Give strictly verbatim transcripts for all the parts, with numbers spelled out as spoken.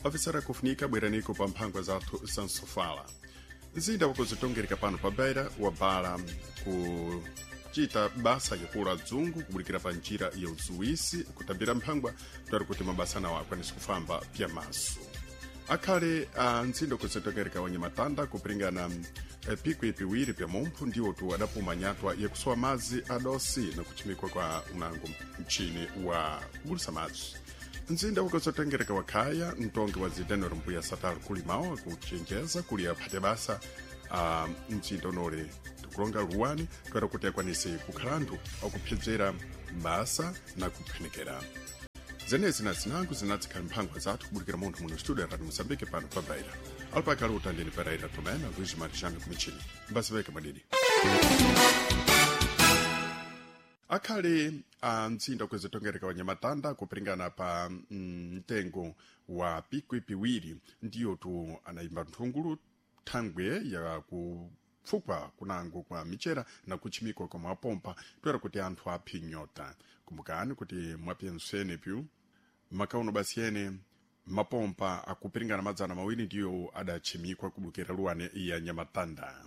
Afisara kufunika bweraniko pa mphangwa zathu za nsofala. Mzinda wakuzitongereka pano pa Beira wabala kuchita basa yakula dzungu kubulikira pa njira ya uzuwisi kutambira mphangwa twari kuti mabasa nawo akwanise kufamba pyamaso. Akhale a mzinda wakuzitongereka wa Nyamatanda kupiringana eh, pikwi piwiri pya mumphu ndiwo tu adapuma nyatwa yakusowa madzi adosi na kuchimikwa kwa unango mchini wa kubulisa madzi. Mzinda wakuzotengereka wakhaya mtongi wa zidenero mbuya satal kulimawo akuchenjeza kuli aphate basa a mzinda unole tikulonga luwani toera kuti akwanise kukhala anthu akupsedzera basa na kuphenekera. Zenezi na zinango zinadzikhala mphangwa zathu kubulikira munthu muno studio ya Radio Moçambique pano pa Beira. Alipakale utandeni Pereira Tomé na Luiz Marjano kumichini. Mbasiveke madidi. Akhale a mtsinda kuzitongereka wa Nyamatanda kupiringana pa mm, mtengo wa pikwi piwiri ndiyo tu anayimba nthungulu thangwe ya kupfukwa kunango kwa michera na kuchimikwa kwa mapompa toera kuti anthu aphi nyota. Kumbukani kuti mwapyensene pyu makauno basi ene mapompa akupiringana madzana mawiri ndiyo adachimikwa kubukira luwane ya Nyamatanda.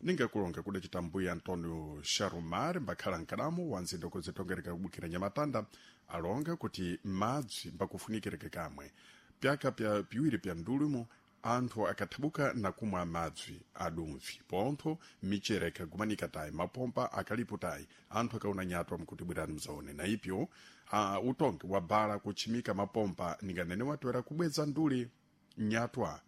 Ningakulonga kudacita mbuya Antonio Sharumar mbakhala mkadamu wa nzinda kuzitongereka kubukira Nyamatanda alonga kuti madzi mbakufunikireke kamwe pyaka pya piwiri pya ndulumo anthu akathabuka na kumwa madzi adumvi pontho michere ikagumanika tayi mapompa akalipo tayi anthu akaona nyatwa mkuti bwerani mzaone na ipyo uh, utongi wabala kuchimika mapompa ninganene watoera kubweza nduli nyatwa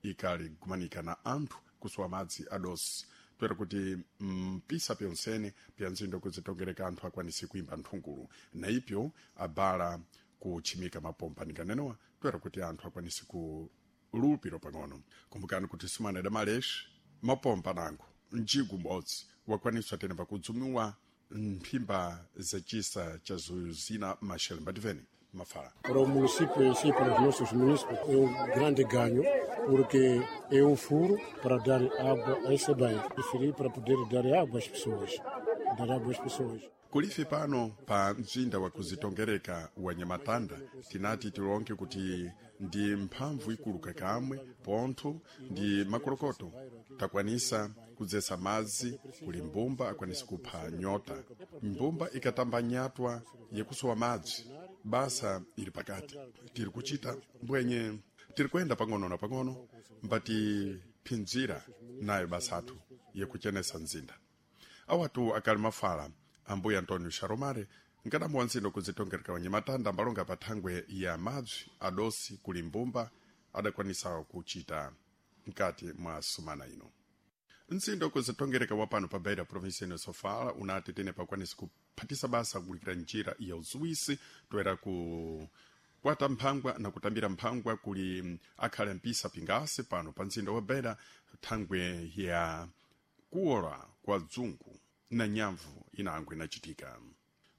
ikaligumanika na anthu kusowa madzi adosi toera kuti mpisa pyonsene pya nzindo kuzitongereka anthu akwanise kuimba nthungulu na ipyo abala kuchimika mapompa ninganenewa toera kuti anthu akwanise ku lupiro pang'ono. Kumbukani kuti sumana idamaleshi mapompa nango mjigu m'bodzi wakwaniswa tene pakudzumiwa mphimba zacisa cha zina machel mbativeni mafala. Para o município em si, para os nossos munícipes, é um grande ganho, porque é um furo para dar água a esse bairro. Preferi para poder dar água às pessoas. Dar água às pessoas. Kulife pano pa mzinda wa kuzitongereka wa Nyamatanda tinati tilonke kuti ndi mphamvu ikuluka kamwe pontho ndi makolokoto takwanisa kudzesa madzi kuli mbumba akwanisa kupha nyota. Mbumba ikatamba nyatwa yakusowa madzi basa ili pakati tiri kuchita mbwenye tiri kuyenda pang'ono na pang'ono mbatiphinzira nayo basathu yakuchenesa mzinda. Awatu akali mafala ambuya Antonio Sharomare nkadamu wa nzindo kuzitongereka wa Nyamatanda ambalonga pa thangwe ya madzi adosi kuli mbumba adakwanisa kuchita mkati mwa sumana ino. Mzinda kuzitongereka wa pano pa Beira provinsia ino Sofala unati tene pakwanisa kuphatisa basa kulikira njira ya uzuwisi toera ku kwata mphangwa na kutambira mphangwa kuli akhale mpisa pingasi pano pa mzinda wa Beira thangwe ya kuwola kwa dzungu na nyamvu inango inachitika.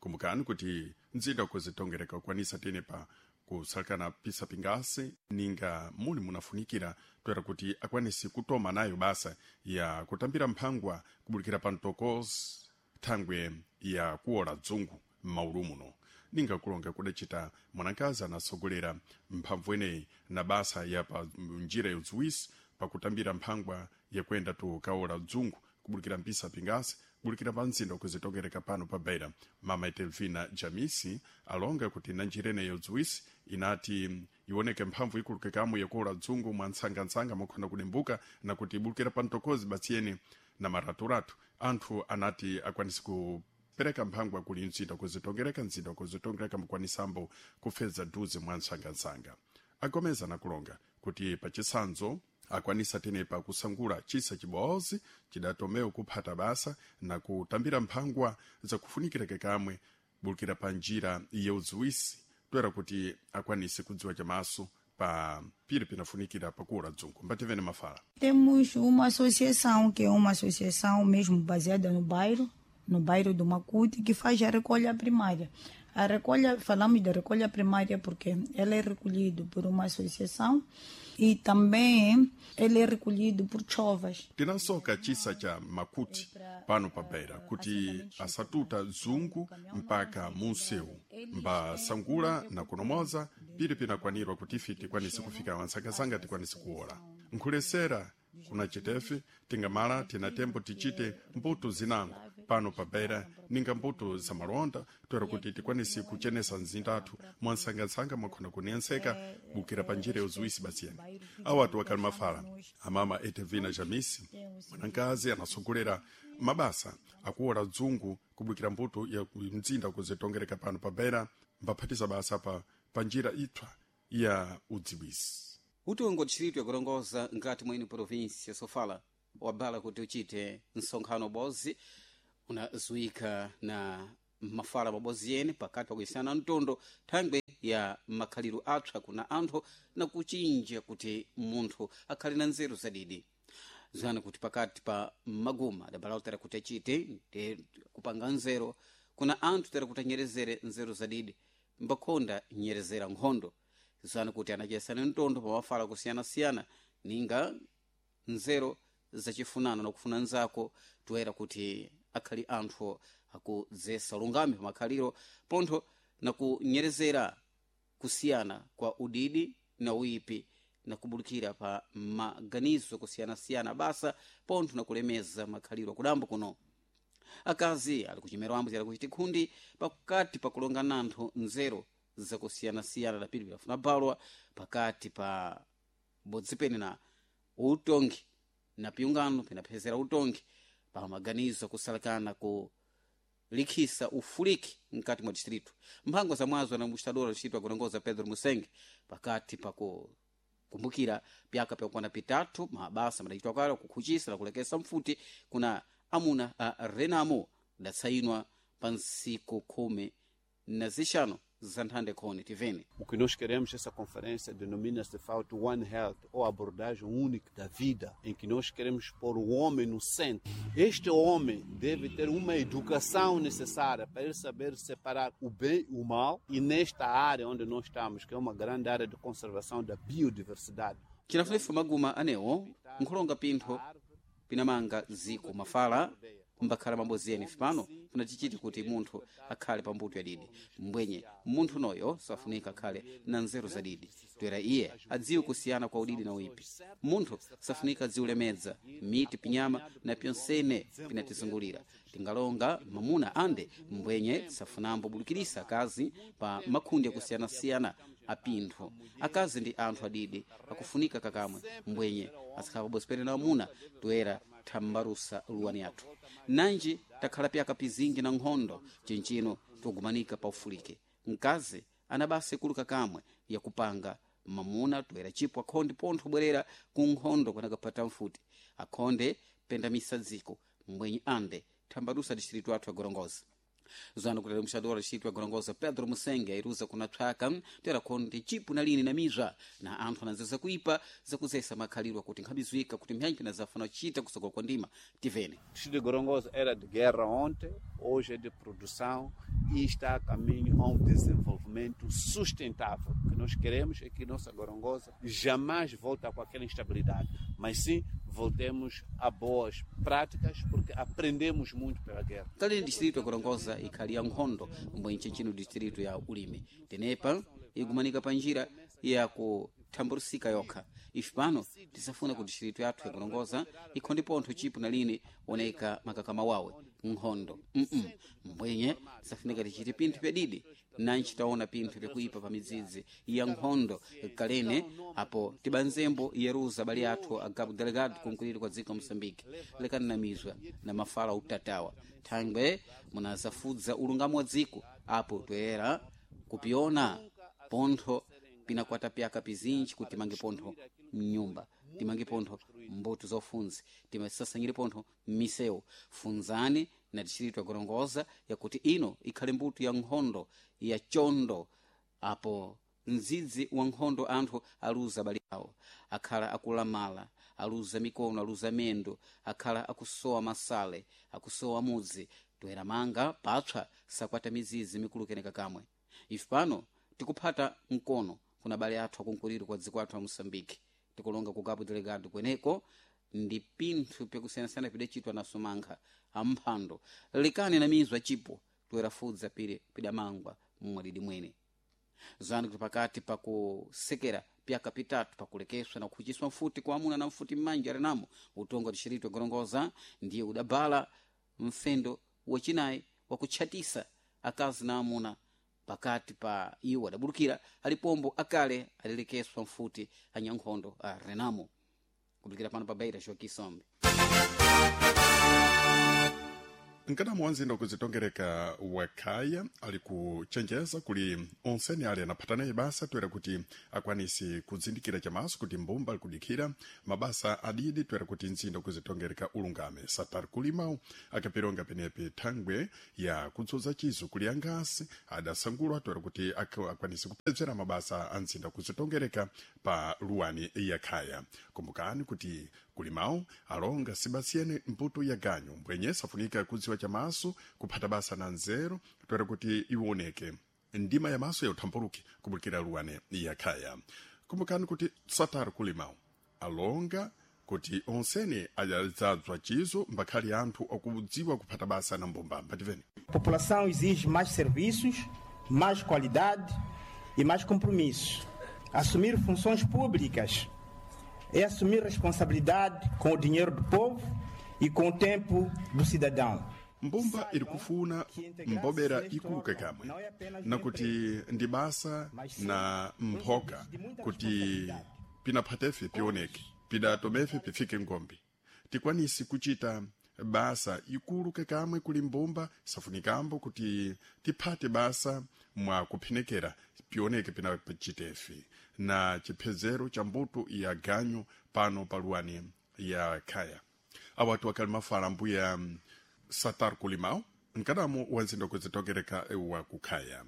Kumbukani kuti mzinda kuzitongereka kukwanisa tene pa kusalekana pisa pingasi ninga muli munafunikira toera kuti akwanise kutoma nayo basa ya kutambira mphangwa kubulikira pa mtokozi thangwe ya kuwola dzungu m'maulu muno. Ninga kulonga kudacita mwanakazi anasogolera mphamvu ineyi na basa ya pa njira ya udziwisi pakutambira mphangwa yakuyenda tu kawola dzungu kubulikira mpisa pingasi kubulikira pa mzinda kuzitongereka pano pa Beira. Mama Etelvina Jamisi alonga kuti na njira ineyi yodziwisi inati ioneke mphamvu ikuluke kamwe yakuwola dzungu mwa ntsangantsanga mokhona kudimbuka na kuti ibulikira pa mtokozi batsiyeni na maraturatu anthu anati akwanise kupereka mphangwa kuli mzinda kuzitongereka mzinda kuzitongereka mukwanisambo kufeza duze mwa ntsangantsanga. Agomeza nakulonga kuti pachisanzo akwanisa tenepa kusangula chisa chibozi chidatomewo kuphata basa na kutambira mphangwa zakufunikireke kamwe bulikira pa njira ya udziwisi toera kuti akwanise kudziwa chamaso pa piri pinafunikira pakuwola dzungu. Mbativene mafala. Temos uma associação, que é uma associação mesmo baseada no bairro, no bairro do Macuti, que faz a recolha primária. A recolha, falamos da recolha primária porque ela é recolhida por uma associação e também ele é recolhido por chovas. Tinasoka chisa cha makuti pano pa Beira kuti asatuta zungu mpaka munsewu mbasangula na kunomoza pili pinakwanirwa kuti ife tikwanise kufika wansangasanga tikwanise kuwola nkhulesera kuna chitefe tingamala tina tembo tichite mbuto zinango pano pa Beira ninga mbuto za malonda toera kuti tikwanise kuchenesa mzindathu mwansangasanga mwakhona kuniyenseka bukira pa njira yozuwisi basiyeni awatu wakali mafala amama Etevina Jamisi mwanankazi anasogolera mabasa akuwola dzungu kubukira mbuto ya mzinda kuzitongereka pano pa Beira mbaphatiza basa pa, pa njira itswa ya udziwisi. Utongo distrito yakulongoza ngati mwene provinsi ya Sofala wabala kuti uchite msonkhano bozi unazuika na mafala mabozi yene pakati pakuyisana mtondo thangwe ya makhaliro apsa kuna anthu na kuchinja kuti munthu akhale na nzeru zadidi. Zana kuti pakati pa maguma adabala tera kuti achite ndi kupanga nzeru kuna anthu tera kuti anyerezere nzeru zadidi mbakhonda nyerezera nkhondo. Zana kuti anachesana mtondo pamafala kusiyanasiyana ninga nzeru zachifunano nakufuna nzako toera kuti akhali anthu akudzesa lungame pamakhaliro pontho nakunyerezera kusiyana kwa udidi na uipi nakubulukira pa maganizo kusiyanasiyana basa pontho nakulemeza makhaliro akudambo kuno. Akazi ali kuchimero ambo ali kuchiti khundi pakati pakulonga nanthu nzeru zakusiyanasiyana dapiri pilafuna balwa pakati pa bodzipene na utongi na piungano pinaphezera utongi pa maganizo kusalakana ku likhisa ufuliki mkati mwa distrito. Mphango za mwazo na mustadora distrito akulongoza Pedro Musenge pakati paku kumbukira pyaka pyakwana pitatu mabasa madachitwa kale kukhuchisa na kulekesa mfuti kuna amuna a Renamo datsayinwa pa ntsiku khumi na zixano za nthande khoni tivene. O que nós queremos essa conferência denomina-se de facto One Health, ou abordagem única da vida, em que nós queremos pôr o homem no centro. Este homem deve ter uma educação necessária para ele saber separar o bem e o mal, e nesta área onde nós estamos, que é uma grande área de conservação da biodiversidade. Chinafunefu maguma anewo nkhulonga pintho pinamanga ziko mafala mbakhala mabozi ene fipano funatichiti kuti munthu akhale pambuto yadidi mbwenye munthu noyo safunika akhale na nzeru zadidi toera iye adziwe kusiyana kwa udidi na uipi. Munthu safunika adziulemedza miti pinyama na pyonsene pinatizungulira. Tingalonga mamuna ande mbwenye safunambo bulukirisa akazi pa makhundi akusiyanasiyana apintho. Akazi ndi anthu adidi akufunika kakamwe mbwenye azikhala pabozi pene na amuna toera thambarusa luwani yathu. Nanji takhala pyaka pizingi na nkhondo chinchino togumanika pa ufulike. Mkazi anabasa ikulu kakamwe yakupanga mamuna toera chipo akhonde pontho bwerera ku nkhondo kwanakapata mfuti akhonde penda misadziko mbwenye ande thambarusa distrito athu agorongoza. Zano kuti mshadora distrito agorongoza Pedro Musenge airuza kuna tswaka toera khonde chipo na lini na mizwa na anthu ananzeza kuipa zakuzesa makhaliro kuti nkhabizwika kuti mphyanyi pinazafuna kuchita kusogola kwa ndima tivene. O de Gorongosa era de guerra ontem, hoje é de produção e está a caminho a um desenvolvimento sustentável. O que nós queremos é que nossa Gorongosa jamais volte com aquela instabilidade, mas sim voltemos a boas práticas, porque aprendemos muito pela guerra. Kale distrito ya Gorongosa ikhali ya nkhondo mbwenye chinchino distrito ya ulimi tenepa igumanika pa njira ya kuthambulusika yokha. Ife pano tisafuna ku distrito yathu ya Gorongosa ikhonde pontho chipo na lini oneka makakama wawe nkhondo mm -mm. Mbwenye tisafunika tichite pinthu pyadidi nanchi taona pinthu pyakuipa pa midzidzi ya nkhondo kalene apo tibanzembo yeruza bali athu a Cabo Delgado kunkuliro kwa dziko Moçambique lekani na mizwa na mafala utatawa thangwe munazafudza ulungamo wa dziko apo toyera kupiona pontho pinakwata pyaka pizinji kuti timange pontho mnyumba timange pontho mbuto zofunzi timasasanyire pontho misewu. Funzani na distrito ya Gorongosa yakuti ino ikhale mbuto ya nkhondo ya chondo apo mdzidzi wa nkhondo anthu aluza abale awo akhala akulamala aluza mikono aluza mendo akhala akusowa masale akusowa mudzi toera manga patswa sakwata mizizi mikulu keneka kamwe. Ife pano tikuphata mkono kuna abale athu akunkuliro kwa dziko athu a Moçambique, tikulonga ku Cabo Delgado kweneko ndi pinthu pyakusiyanasiyana pidacitwa na sumankha amphando lekani na mizu acipo toerafudza pire pidamangwa mmwadidi mwene. Zani kuti pakati pakusekera pyaka pitatu pakulekeswa na kukhuciswa mfuti kwa amuna na mfuti mmanja alinamo utongo tixirito gorongoza ndiye udabala mfendo wacinayi wakutchatisa akazi na amuna pakati pa iwo adabulukira alipombo akale alilekeswa mfuti anyankhondo a Renamo. Kubulukira pano pa Beira, Joaquim Sombe. Mkadamo wa mzinda kuzitongereka wakhaya ali kuchenjeza kuli onseni ali anaphatanaye basa toera kuti akwanise kuzindikira chamaso kuti mbumba ali kudikhira mabasa adidi toera kuti mzinda kuzitongereka ulungame. Satari kulimawu akapironga penepe thangwe ya kudzoza chizo kuli angasi adasangulwa toera kuti ak- akwanise kupedzera mabasa a mzinda kuzitongereka pa luwani yakhaya. Kumbukani kuti kulimawu alonga sibasiyene mputo ya ganyu mbwenye safunika kudziwa chamaso kuphata basa na nzeru toera kuti iwoneke ndima ya maso ya uthamphuluki kubukira luwane yakhaya. Kumbukani kuti satari kulimawu alonga kuti onsene adzadzwa chizo mbakhali anthu akudziwa kuphata basa na mbumba. Mbativeni. A população exige mais serviços, mais qualidade e mais compromisso. Assumir funções públicas é assumir responsabilidade com o dinheiro do povo e com o tempo do cidadão. Mbumba iri kufuna mbobera ikuluke kamwe nakuti ndi basa na mphoka kuti pinaphatefe pioneke pidatomefe pifike ngombe tikwanisi kuchita basa ikuluke kamwe kuli mbumba safunikambo kuti tiphate basa mwa kuphenekera pioneke pinachitefe na chiphezero cha mbuto ya ganyu pano paluwani ya khaya. Awatu akali mafala mbuya Satar Kulimau mkadamo wa nzinda kuzitokereka wa kukhaya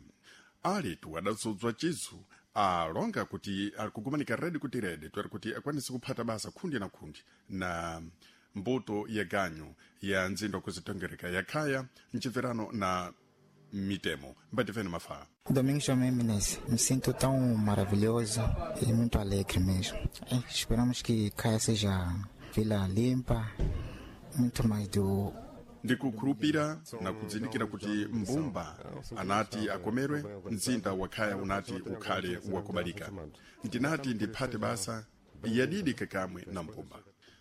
alitu adadzodzwa chizu alonga kuti ali kugumanika redi kuti redi tweri kuti akwanise kuphata basa khundi na khundi na mbuto ya ganyu ya nzinda kuzitongereka ya khaya mchibverano na mitemo. Mbativeni mafala. Domingos Jomé Menezes, me sinto tão maravilhoso e muito alegre mesmo. Eh, esperamos que Caia seja vila limpa, muito mais do ndikukhulupira na kudzindikira kuti mbumba anati akomerwe mzinda wakhaya unati ukhale wakubalika. Ndinati ndiphate basa yadidi kakamwe na mbumba.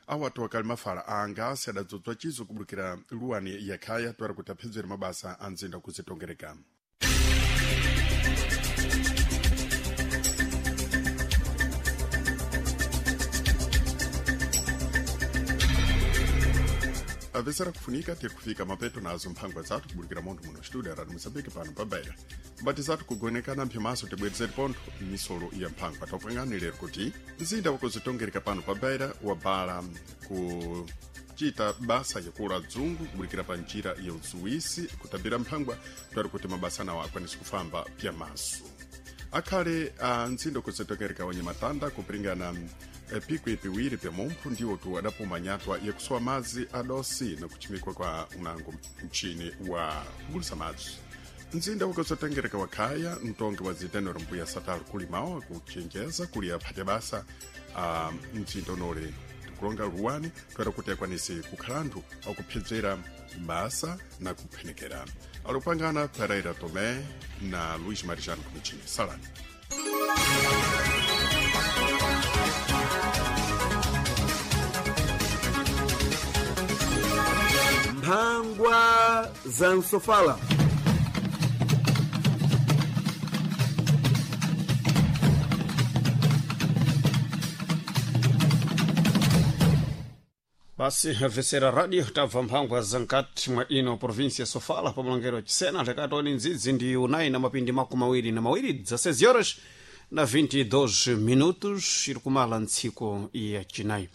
Awatu akali mafala anga asi adadzodzwa chizo kubulukira luwani yakhaya twera kuti aphedzere mabasa a mzinda kuzitongereka. Apesera kufunika tikufika mapeto nazo mphangwa zathu kubulukira montho muno studio radi Moçambique pano pa Beira. Mbati zathu kugonekana mphimaso tibwerezeri pontho misolo ya mphangwa topangani lero kuti mzinda wakuzitongereka pano pa Beira wabala kuchita basa yakula dzungu kubulukira pa njira ya uzuwisi kutambira mphangwa twari kuti mabasa nawo akwanise kufamba pyamaso. Akhale a mzinda kuzitongereka wanyamatanda kupiringana eh, pikwi piwiri pya mumphu ndiwo tu adapuma nyatwa yakusowa madzi adosi na kuchimikwa kwa unango mchini wa kugulisa madzi. Mzinda wakuzotengereka wakhaya mtongi wa zitenero mbuya Satar kulimawo akuchenjeza kuli aphate basa a mzinda unole tikulonga luwani toera kuti akwanise kukhala anthu akuphedzera basa na kuphenekera. Alupangana Pereira Tomé na Luís Marijano Kumichini. Salani. Mphangwa za Nsofala. Basi vesera radio tabva mphangwa za nkati mwa ino província Sofala pa mulongero wa Chisena lekatoni ndzidzi ndi unayi na mapindi makumi awiri na mawiri dezesseis horas na vinte e dois minutos iri kumala ntsiku ya chinayi.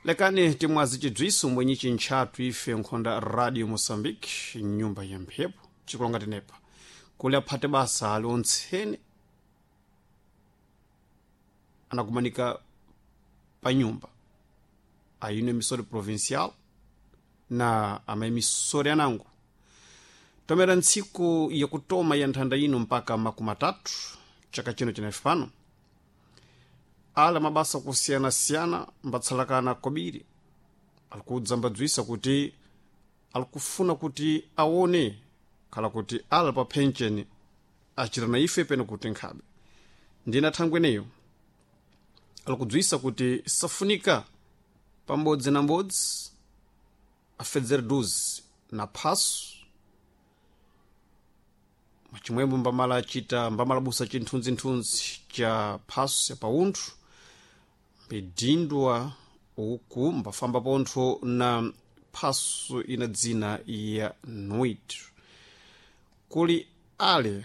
Lekani timwazi chidzwiso mwenyichi ntchatu ife nkhonda Radio Moçambique nyumba ya mphepo chikulonga tenepa kuli aphate basa ali ontsene anakumanika pa nyumba aino emissora provincial na ama emissora anango. Tomera ntsiku yakutoma ya nthanda ino mpaka makumi atatu chaka chino chinafe pano, ala mabasa kusiyanasiyana mbatsalakana kobiri alikudza mbadzwisa kuti alikufuna kuti aone khala kuti ala pa pension achita na ife pene kuti nkhabe. Ndina thangweneyo alikudzwisa kuti safunika pambodzi na mbodzi afedzere duzi na phaso chimwemwe mbamala achita mbamalabusa chinthunzinthunzi cha phaso ya paunthu mbidindwa uku mbafamba pontho na phaso ina dzina ya nuit. Kuli ale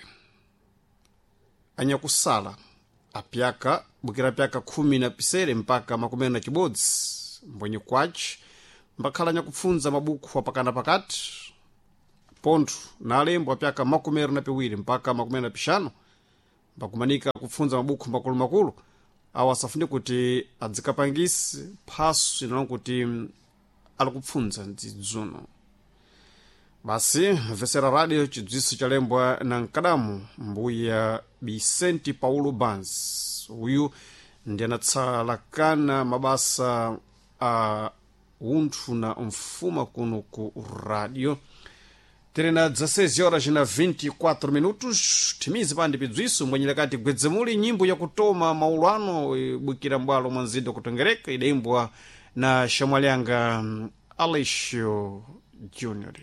anyakusala apyaka bukira pyaka khumi na pisere mpaka makumi na chibodzi mbwenye kwaci mbakhala anyakupfunza mabukhu apakana pakati pontho na alembo apyaka makumi na piwiri mpaka makumi na pixanu mbakumanika kupfunza mabukhu makulumakulu awo asafune kuti adzikapangise phaso inalonga kuti alikupfunza ndzidzuno. Basi mvesera radio chidziwiso chalembwa na mkadamu mbuya Vicente Paulo Bans. Uyu ndi anatsalakana mabasa a unthu na mfuma kuno ku radio. Tiri na dezesseis horas na vinte e quatro minutos. Timizi pandi pidzwiso mbwenyera gwedzemuli nyimbo yakutoma maulano ibwikira mbwalo mwa mzinda kutongereka idaimbwa na shamwalyanga Aleixo Junior.